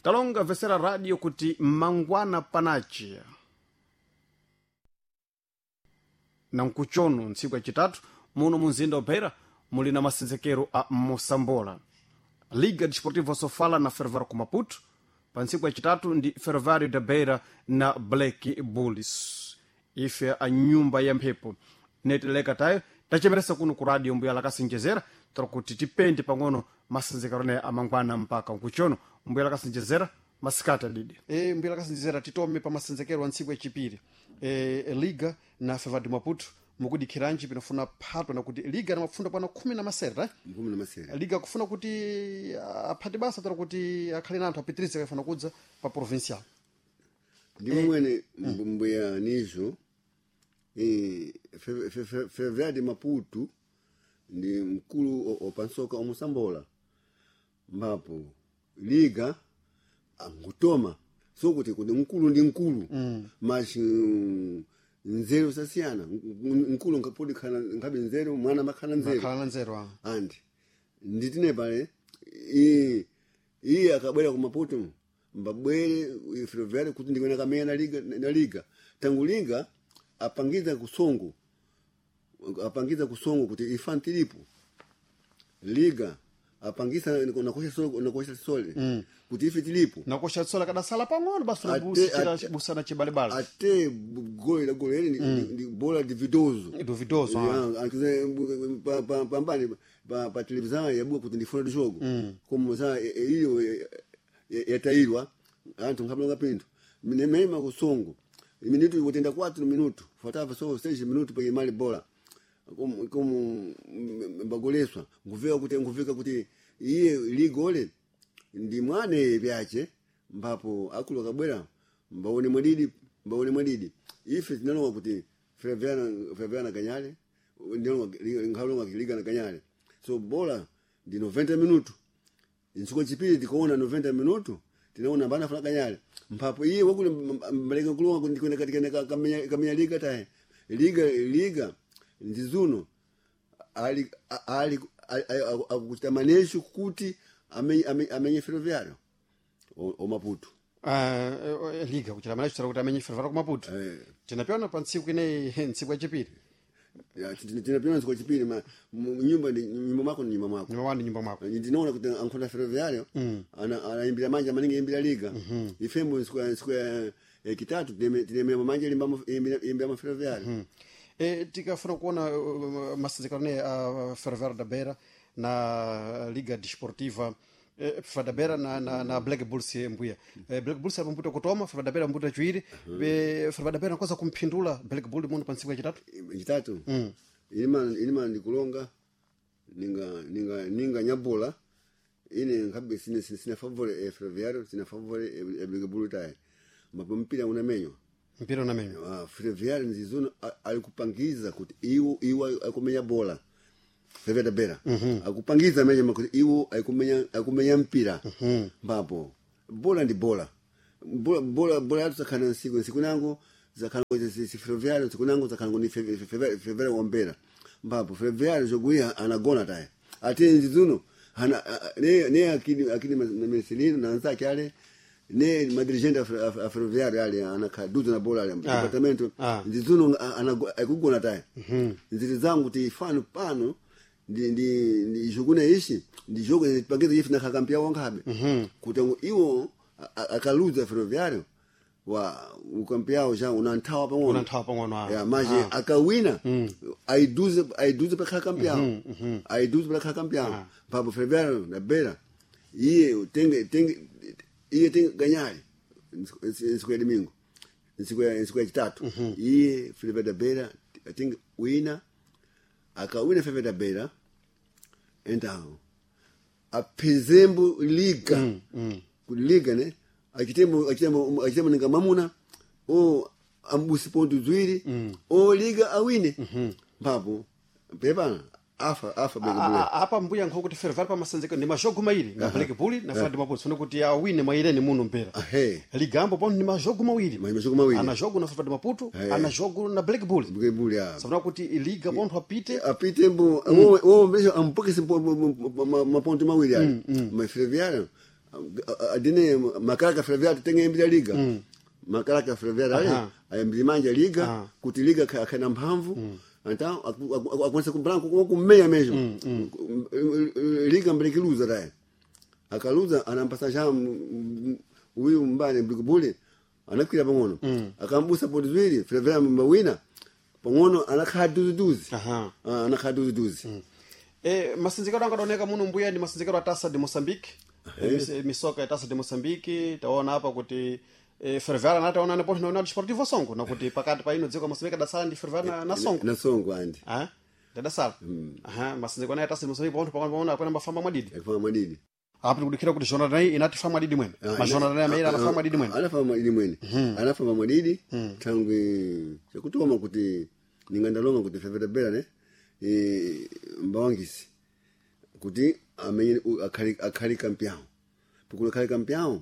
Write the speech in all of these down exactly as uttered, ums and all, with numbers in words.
Talonga vesera radio kuti mangwana panachi na nkuchono ntsiku yacitatu muno munzinda wa Beira muli na masenzekero a Mosambola. Liga Desportiva Sofala na Ferroviário ku Maputo pa ntsiku yacitatu ndi Ferroviário da Beira na Black Bulls. Ife a nyumba ya mphepo netileka tayo tachemeresa kuno ku radio mbuya lakasinjezera tiri kuti tipende pang'ono masenzekero ne amangwana mpaka nkuchono. Mbuya lakasinjezera, masikati adidi. E, mbuya lakasinjezera, titome pa masenzekero a ntsiku yachipiri, e, Liga na Ferroviário de Maputo mukudikhiranji pinofuna phatwa nakuti Liga namapfunda kwana khumi na masere, eh? Khumi na masere. Liga kufuna kuti aphate basa tara kuti akhale na anthu apitirize kafuna kudza pa provincial. Ndimo mwene mbuya nizo eh, Fe- Fe- Fe- Ferroviário de Maputo ndi mkulu o- opansoka omusambola, mbapo liga angutoma sokuti kuti mkulu ndi mkulu mm. Mas mm, nzeru sasiyana. Mkulu nkapodi khana nkhabe nzeru, mwana makhana nzeru. Akhala na nzeru ah. Andi nditine pale iye iye akabwera ku Maputo mbabwere Ferroviário kuti ndikuona kamenya na liga na liga tangu liga apangiza kusongo apangiza kusongo kuti ifantilipo liga apangisa nakosha sole nakosha sole mm. kuti ife tilipo. Nakosha tsola kadasala pang'ono basi. Ate- Unabusira ate- busana chibalebale. Ate gole la gole ili ni, ni bola dividoso. Duvidoso, ah. Ya, akize pa- pa- pambani pa, pa televisão yabuka kuti ndifuna dijogo como sa e- e- iyo e- e- yatairwa anthu nkhabalonga pinthu nemema kusongo minuto kutenda quatro minuto faltava só seis minutos para imali bola como como mbagoleswa nguveka kuti nguveka kuti iye ligole ndi mwane vyache mbapo akulu akabwera mbaone mwadidi mbaone mwadidi ife tinalowa kuti Ferroviário Ferroviário ganyale nkhalonga liga na ganyale so bola ndi noventa minuto nsuko chipiri tikuona noventa minuto tinaona mbana funa ganyale mpapo iye wakule mbaleka kulonga ndikwenda katika kamenya kamenya liga tahe liga liga ndizuno ali ali akuchita manesho kuti amenye amenye Ferroviário o, o Maputo. Ah, eh, liga kuchita manecho tara kuti amenye Ferroviário ku Maputo. Eh. Tinapiona pa ntsiku ineyi, ntsiku yachipiri. Ya, tinapiona ntsiku yachipiri ma mu- nyumba ndi nyumba mwako ni nyumba mwako. Nyumba wanu nyumba mwako. Ndinaona kuti ankhona Ferroviário ana anaimbira manja maningi imbira liga ifembo ntsiku ya- ntsiku ya ya kitatu tinemea manja imbira imbira ma Ferroviário. E, tikafuna kuona uh, masenzekero ne a uh, Ferroviário da Beira na Liga Desportiva eh, Ferroviário da Beira na, na, na Black Bulls, mbuya eh, Black Bulls ambuta kutoma Ferroviário da Beira ambuta chiwiri. mm. Ferroviário da Beira nkoza kumphindula Black Bull muno pa ntsiku yachitatu. Chitatu ilima ilima ndikulonga ninga ninga ninga nyabola ine nkhabe sine sine, sina favore e Ferroviário sina favore e, e Black Bull taye mapo mpira unamenywa. Mpira unamenywa. Ah, Ferroviário nzizuno alikupangiza kuti iwo iwo akumenya bola Ferroviário da Beira akupangiza amenya kuti iwo akumenya akumenya mpira mbapo bola ndi bola bola bola bola yatu zakhala nsiku nsiku nango zakhala si si Ferroviário nsiku nango zakhala ni Ferroviário wambera mbapo Ferroviário joguia anagona taye ate nzizuno ana ne ne akini akini Marcelino na anzake ale ne madirigente a Ferroviário ale anakhaduza na bola ale Ah. departamento Ah. ndizuno akugona taye nziri zangu kuti fano pano ndi ndi ndi jogune ishi ndi jogo pangiza ifi nakhakampia wankhabe kuti ngo iwo a- a- akaluza Ferroviário wa ukampiao ja unanthawa pang'ono. Unanthawa pang'ono, ah. Ya maje Ah. akawina aiduze aiduze pakhala kampiao aiduze pakhala kampiao papo Ferroviário na Beira iye tenge tenge iye tenge ganyale nsiku ya domingo nsiku ya nsiku ya chitatu iye Ferroviário da Beira tenge wina akawina Ferroviário da Beira então apezembo liga mm, liga ne achitembo achitembo achitembo ninga mamuna o ambusi ponto zwiri mm. o liga awine mpapo pepana afa afa A- Black a- Bull. a- apa mbuya nkho kuti Ferroviário pa masenzekero ndi majogo mairi na Black Bull na Ferroviário de Maputo sone kuti awine mwaireni muno mpera. Ahe. Ligambo pano ndi majogo mawiri. Ma- majogo mawiri. Ana jogo na Ferroviário de Maputo, Eh. ana jogo na Black Bull. Black Bull ya Sabona kuti liga pontho apite. Apite mbo wo wo mesho ampokese maponto mawiri ali ma Ferroviário Adine makaraka Ferroviário tem a liga. Mm. Makaraka Ferroviário ali, ayambiri manja liga, Aha. kuti liga ka- kana mphamvu. Então, akonse kumbranco com kumeia mesmo. Mm, Liga mbrekiluza daí. Akaluza anampasa já mm, uyu mbane blikubuli anakwira pang'ono. Akambusa poti ziwiri, Ferroviário mbawina. Pang'ono anakhala duzi-duzi. Aha. Ah, anakhala duzi-duzi. E, masinzikiro anga adaoneka muno mbuya ndi masinzikiro a Taça de Moçambique. E, mis- misoka ya Taça de Moçambique taona apa kuti e, Ferroviário anataona nepo na União Desportiva Songo nakuti pakati pa ino dziko la Moçambique adasala ndi Ferroviário na, na Songo. Na Songo andi. Ah, ndadasala. Aha, masinzikiro anayi Taça de Moçambique ponto pakati paona apena mbafamba mwadidi. Yakufamba mwadidi. Apo tikudikira kuti jornada nayi inati famba mwadidi mwene. Ma jornada nayi amaira anafamba mwadidi mwene. Anafamba mwadidi mwene. Anafamba mwadidi thangwi chakutoma kuti ningandalonga kuti Ferroviário Beira ne eh, mbawangisi kuti amenye akhali akhali campeão. Porque akhali campeão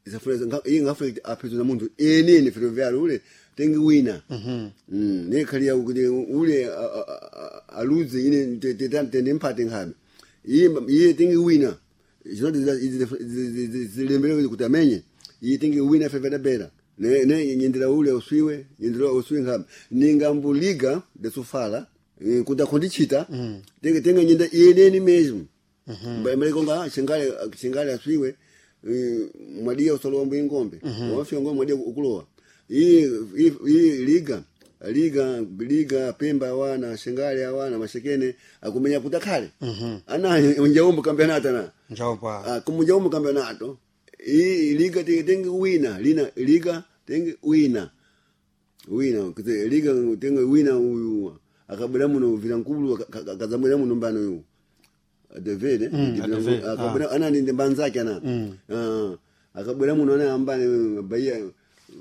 isafuna iye ngafuna kuti apezwe na munthu ene Ferroviário ule tengi wina. Mm, ne khali kuti ule a- a- a- aluze ine tende mpate nkhabe. Iye iye tengi wina. Zinoti zilembere kuti amenye. Iye tengi wina Ferroviário Beira. Ne ne nyendera ule uswiwe, nyendera uswiwe nkhabe. Ningambuliga de Sofala eh, kuti akhondichita tenge tenge nyenda yeneni mesmo. Mbali konga shingale shingale aswiwe eh, mwadiya usolowa mbuyi ngombe wafika ngombe mwadiya ukulowa iyi iyi- iyi liga liga liga pemba awana shingale awana mashekene akumenya kuti akhale ana njaumbo campeonato na Njaopa. Ah, kumunjaumbo campeonato iyi liga tenge tenge wina lina liga tenge wina wina kuti liga tenge wina uyu akabwera muno vilankulu akazamwera muno mbano uyu David Mm, David, akabwera ana ndi mbanzake ana Ah, akabwera muno ana ambane Bahia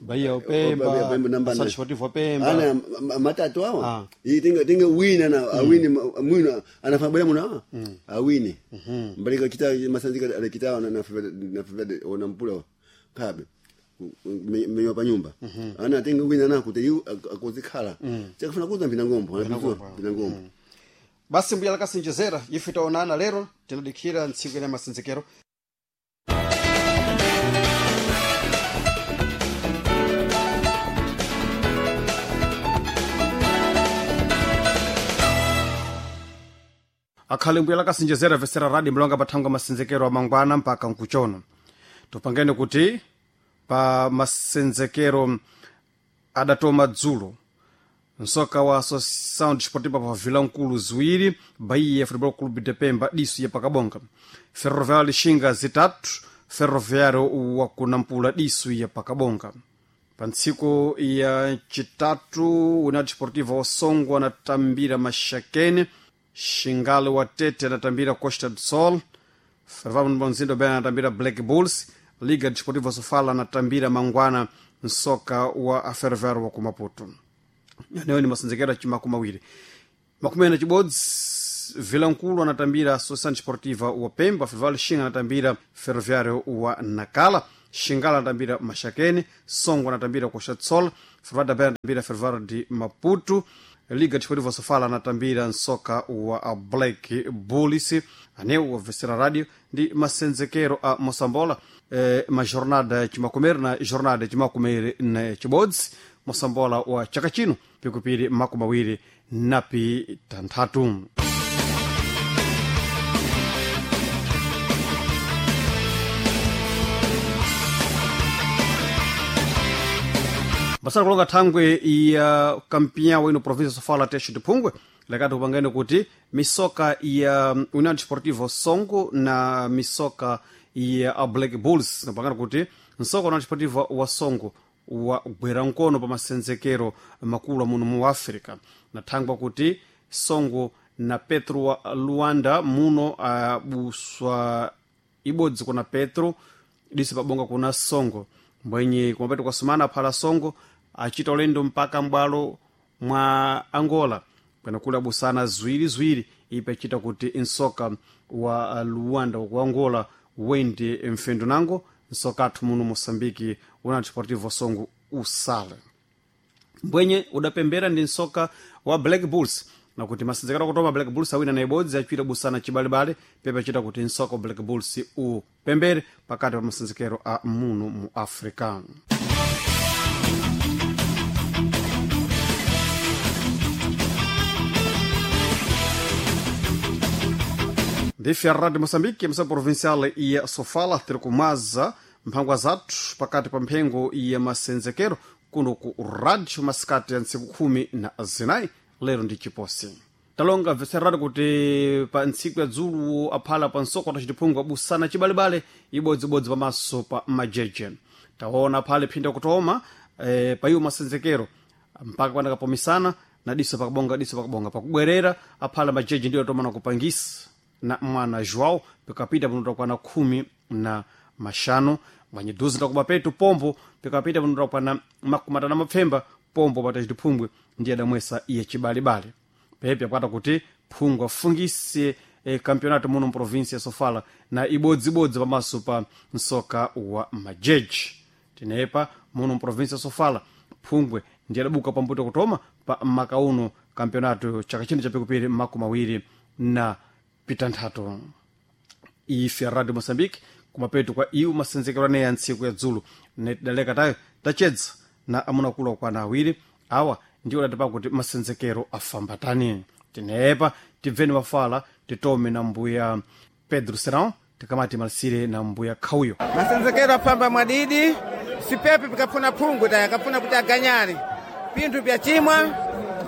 Bahia Pemba, Pemba, Pemba namba Associação nane. Desportiva Pemba. Ana ma- matatu awa Ah. iyi tenga tenga wina na awini ma- mwina anafabwera muno awa awini mbalika kita masanzika alikitawa na na na ona mpula kabe menywa pa nyumba ana tenga wina na kuti yu akozikhala chakufuna kuza mpina ngombo anapizwa mpina ngombo Basi mbuya lakasinjezera ife taonana lero tinadikira ntsiku ina masinzikiro. Akhale mbuya lakasinjezera vesera radi mlonga pathangwa masinzikiro amangwana mpaka nkuchono. Tupangene kuti pa masenzekero adatoma dzulo nsoka wa Associação Desportiva pa Vilankulu ziwiri Bahia Futebol Clube de Pemba diso ya pakabonga Ferroviário Lixinga zitatu Ferroviário wa kunampula diso ya pakabonga pa ntsiku ya chitatu União Desportiva wa Songo anatambira Maxakene Xingale wa Tete anatambira Costa do Sol Ferroviário Bonzindo Ben anatambira Black Bulls Liga Desportiva Sofala anatambira Mangwana nsoka wa Ferroviário wa kumaputo anewo ni masanzekero achimakumi awiri makumi ana chibodzi Vilankulu anatambira Associação Desportiva wa Pemba Ferroviário Xinga anatambira Ferroviário wa Nacala Xingala anatambira Maxakene Songo anatambira Costa do Sol Ferroviário da Beira anatambira Ferroviário de Maputo Liga Desportiva Sofala anatambira nsoka wa Black Bulls aneu wa Vesera Radio ndi masenzekero a Moçambola eh, ma jornada chimakumere na jornada chimakumere na chibodzi Moçambola wa chaka chino pikupiri makumi awiri napi tanthatu basala kulonga thangwe ya kampinya ino província sofala texo de phungwe lekati kupangene kuti misoka ya União Desportiva Songo na misoka ya Black Bulls napangana kuti msoka União Desportiva wa Songo wagwera mkono pa masenzekero makulu amuno mu Africa na thangwa kuti Songo na Petro wa Luanda muno abuswa ibodzi kuna Petro diso pabonga kuna Songo mbwenye kumapeto kwa sumana aphala Songo achita ulendo mpaka m'bwalo mwa Angola kwena kuli abusana ziwiriziwiri ipe achita kuti nsoka wa Luanda ku Angola wende mfendo nango nsoka athu muno Moçambique una Desportivo Songo usale mbwenye udapembera ndi nsoka wa Black Bulls Na kuti masenzekero kutoma Black Bulls awina na ibodzi achita busana chibalebale pepe achita kuti nsoko wa Black Bulls upembere pakati pa masenzekero a muno mu Africa. Ndife a Rádio Moçambique, emissão provincial ya Sofala, tiri kumaza mphangwa zathu pakati pa mphengo ya masenzekero kuno ku rádio masikati ya ntsiku khumi na zinayi lero ndi chiposi. Talonga bveserani kuti pa ntsiku ya dzulu aphala pa nsoko tacitiphungu abusana chibalebale ibodzibodzi pamaso pa majeje. Taona phale phinda kutoma eh, pa iwo masenzekero mpaka panakapomisana na diso pakabonga diso pakabonga pakubwerera aphala majeje ndiyo atomana kupangisa na mwana João pikapita panotakwana khumi na mashanu mwanyiduzi ndakuba petu pombo pikapita panotakwana makumi atanu mapfemba pombo patachitiphungwe ndiye adamwesa iye chibalebale pepe akwata kuti phungwe afungise e, campeonato muno mprovinsia ya Sofala na ibodzibodzi pamaso pa msoka wa majeji. Tinepa muno mprovinsia ya Sofala phungwe ndiye adabuka pambuto kutoma pa makauno campeonato chaka chino chapikupiri makumi awiri na pitanthatu. Ife a Radio Moçambique kumapeto kwa iwo masenzekero aneyi a ntsiku ya dzulo netidaleka tayo tachedza na amunakulu akwana awiri awa ndiwo adatipa kuti masenzekero afambatani. Tinepa tibveni mafala titome na mbuya Pedro Serão tikamati malisire na mbuya Khauyo. Masenzekero afamba mwadidi sipepe pikafuna phungu taya akafuna kuti aganyane pinthu pyachimwa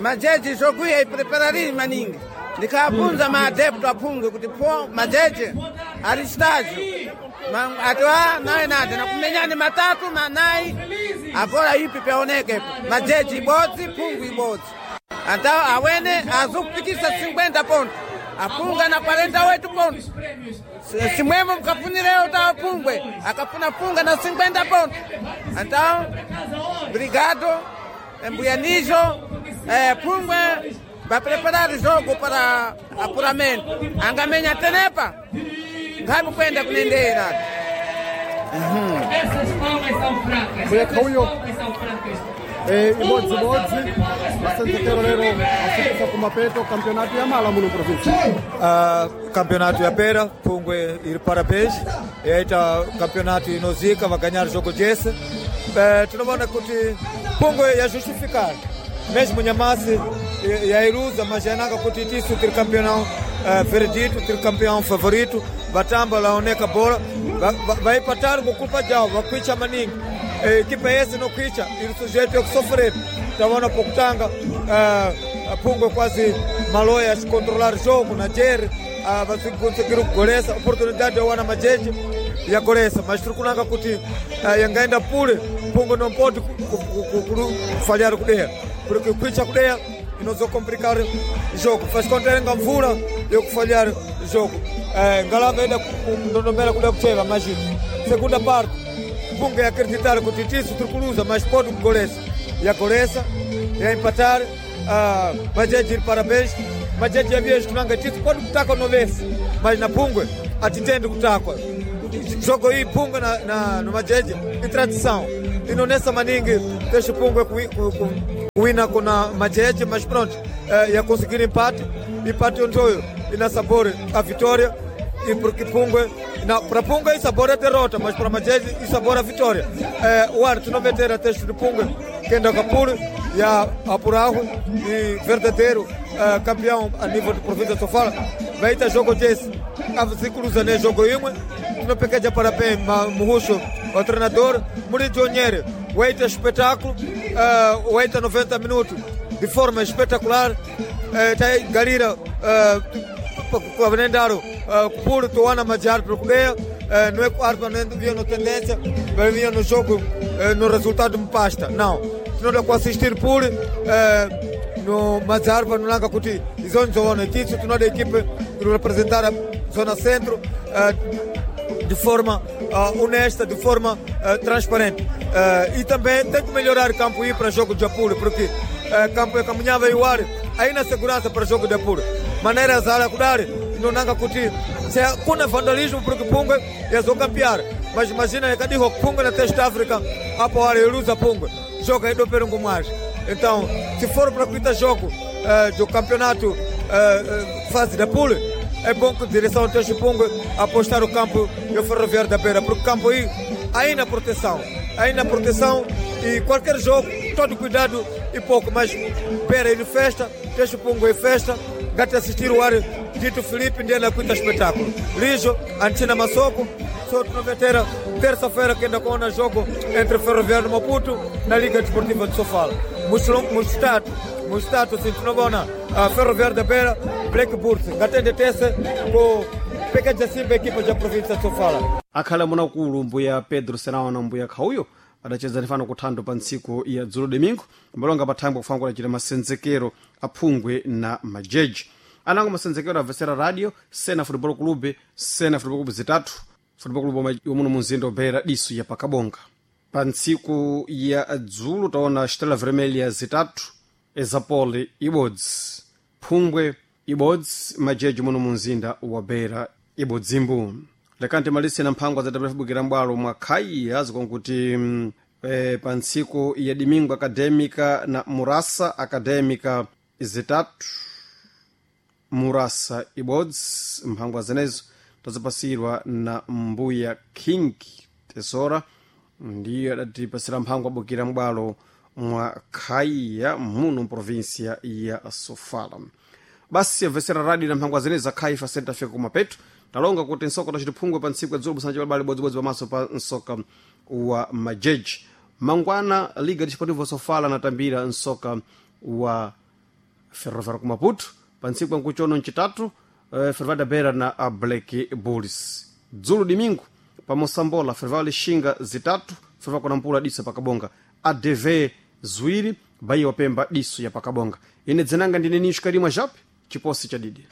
majeji zokwiya ipreparariri maningi ndikapunza maadepto aphungu kuti pho majeje ali estágio atiwa naye nade nakumenyani matatu manayi avola ipi pyaoneke majeji ibodzi phungu ibodzi anta awene azukupikisa cinquenta ponto apunga na quarenta oito ponto. Simwemo mkafunireo ta pungwe akafuna punga na cinquenta ponto. Então obrigado mbuya nijo eh, pungwe va preparar jogo para apuramento angamenya tenepa ngabe kwenda kunendera. Mbuya Khauyo, eh, ibodzibodzi masenzekero lero afikisa kumapeto campeonato ya mala muno provinsia. Uh, campeonato ya pera Pungwe iri parabéns yaita campeonato inozika vaganhar jogo jese. Uh, tinoona kuti Pungwe yajustificar mesmo Nhamasi yairuza mas yananga kuti tisu tiri campeão uh, veredito tiri campeão favorito vatamba laoneka bola vaipatari ngokulpa javo vakwicha maningi. Equipa esse não kwicha iri sujeito a sofrer. Taona pokutanga uh, Pungwe quase maloya controlar jogo na jerry uh, vasikonsegiri kugolesa oportunidade yawana majeji yagolesa mas tiri kunanga kuti uh, yangaenda pule Pungwe não pode falhar kudeya porque kwicha kudeya inozocomplicar jogo faz conta nga mvula yokufalhar jogo. uh, ngalava enda kundondomera kuda kucheva mas segunda parte Pungwe acreditar kuti tisu tiri kuluza mas pode kugolesa yagolesa yaempatar. Uh, majeji iri parabéns majeji yaviye tunanga tisu pode kutakwa novese mas na Pungwe atitendi kutakwa jogo iyi Pungwe na, na, no majeji i tradição inonesa maningi deixa Pungwe kuwina kuna majeji mas pronto uh, ya conseguir empate empate ontoyo ina sabor a vitória e porque Pungwe na para Pungwe e sabor a derrota mas para majeji e sabor a vitória. uh, o arte não meter a texto de Pungwe kenda kapuri ya apurahu e verdadeiro uh, campeão a nível de província de Sofala vaita jogo desse avzikuluza ne jogo imwe tinopekeja parabéns muhusho o treinador Murijo Nyere waita espetáculo uh, waita noventa minutos de forma espetacular. uh, taigalira uh, vanendaro uh, kupuri towana majar prokudeia uh, não é que o não vinha no tendência vinha no jogo uh, no resultado me pasta não tinoda kuassistir puri uh, no Mazarva no langa kuti izoni zoona tisu tinoda equipe que representar a zona centro uh, de forma uh, honesta, de forma uh, transparente. Uh, e também tem que melhorar o campo ir para jogo de apuro, porque uh, campo é caminhava e o ar aí na segurança para jogo de apuro. Maneira zara kudar não nanga kuti se kuna vandalismo porque Pungwe yazocampear. Mas imagina yakadiho Pungwe na Teste África apo ar iluza Pungwe. Joga aí do perungo mais. Então, se for para kuita jogo eh, do campeonato eh, eh, fase da pool, é bom que a direção do Pungo apostar o campo e o Ferroviário da Beira, porque o campo aí, aí na proteção, aí na proteção e qualquer jogo, todo cuidado e pouco, mas Beira de festa, Teixo Pungo em festa, gata assistir o ar Dito Felipe, Ndiana Quinta espetáculo. Lijo, Antina Massoko, só noveteira, terça-feira que ainda com o jogo entre Ferroviário e Maputo na Liga Desportiva de Sofala. Mustato, Mustato, Sintinobona, Ferroviário da Beira, Black Bulls, Gatende Tese, com Pecaja Simba, equipa da província de Sofala. Akhala munakulu mbuya Pedro Senawa na mbuya Khauyo adacheza nifano kuthando pa ntsiku ya dzulo domingo mbalonga pathangwe kufanana kudachita masenzekero aphungwe na majeji anango masenzekero abvesera radio Sena Football Club, Sena Football Club zitatu Football Club yomuno munzinda obeera diso ya pakabonga. Pa ntsiku ya dzulo taona Estrela Vermelha zitatu, Ezapole ibodzi, phungwe ibodzi, majeji muno munzinda wa Beira ibodzimbu. Lekani malise na mphangwa za mbwalo mwa khaiya zikonkuti mm, e, pa ntsiku ya domingo Acadêmica na Murasa, Acadêmica zitatu, Murasa ibodzi. Mphangwa zenezo tazipasirwa na mbuya King Tesora, ndiyo adatipasira mphangwa abukira mbwalo mwa khaiya muno mprovinsia ya Sofala. Basi amvesera radio na mphangwa zenezo za khaifa senta fika kumapeto. Talonga kuti nsoka tacitiphungwe pa ntsiku ya dzulo busanja balibali bodzibodzi pamaso pa nsoka wa majeji. Mangwana Liga Desportiva Sofala natambira nsoka wa Ferroviário ku Maputo. Pa ntsiku yankuchono ncitatu, eh, Ferroviário da Beira na a Black Bulls. Dzulo domingo pa Mosambola, Ferroviário Lixinga zitatu, Ferroviário Kunampula diso pakabonga, A D V ziwiri, Bahia wapemba diso ya pakabonga. Ine dzinanga ndine Nisho Karimwa Jape chiposi cha didi.